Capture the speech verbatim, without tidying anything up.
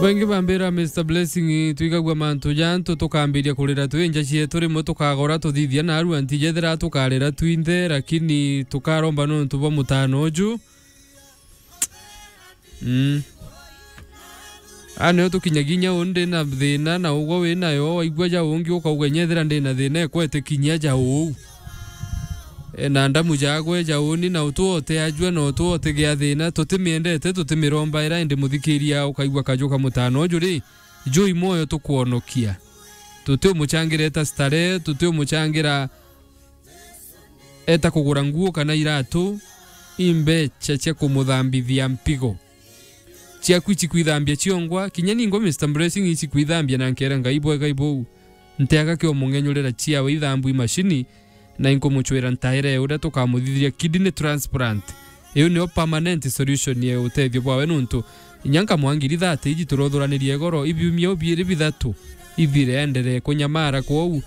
Baingi bambira, Mister Blessing, twigagua mantu jantu tukambiria kurira twi nja cietu, rimwe tukagora tuthithia narua nti jethira tukarira twinthe, lakini tukaromba nontu bwa mutano uju. Mm. A nio tukinyagia inya uu ndi na thina na ugwe wi nayo, waigua ja ungi ukauga, "Inya ethira ndi na thina, ekwete kinyia ja uu." E, na ndamu jagwe ja uni na utu ote ajua na utu ote gia thina, tutimiendete, tutimirombaira, indi muthikiria ukaigua kaju ka mutano uju ri, jui mwoyo tukwonokia. Tutiumuchangira eta starehe, tutiumuchangira eta kugura nguo kana iratu, imbecha cia kumuthambithia mpigo. Ciaku icikwithambia ciongwa, kinya ningwa Mister Blessing icikwithambia na nkera Ngai bwega ibou. Nteaga kio mung'enyurira ciawe ithambu imashini, na inkumuchwira ntaire uria tukamuthithiria kidney transplant. Iu nio permanent solution ya utethio bwawe nuntu inya nkamwa ngiri thate iji turothuraniria igoro, ibiumia u biiri bithatu ithire, enderee kunyamara kwou.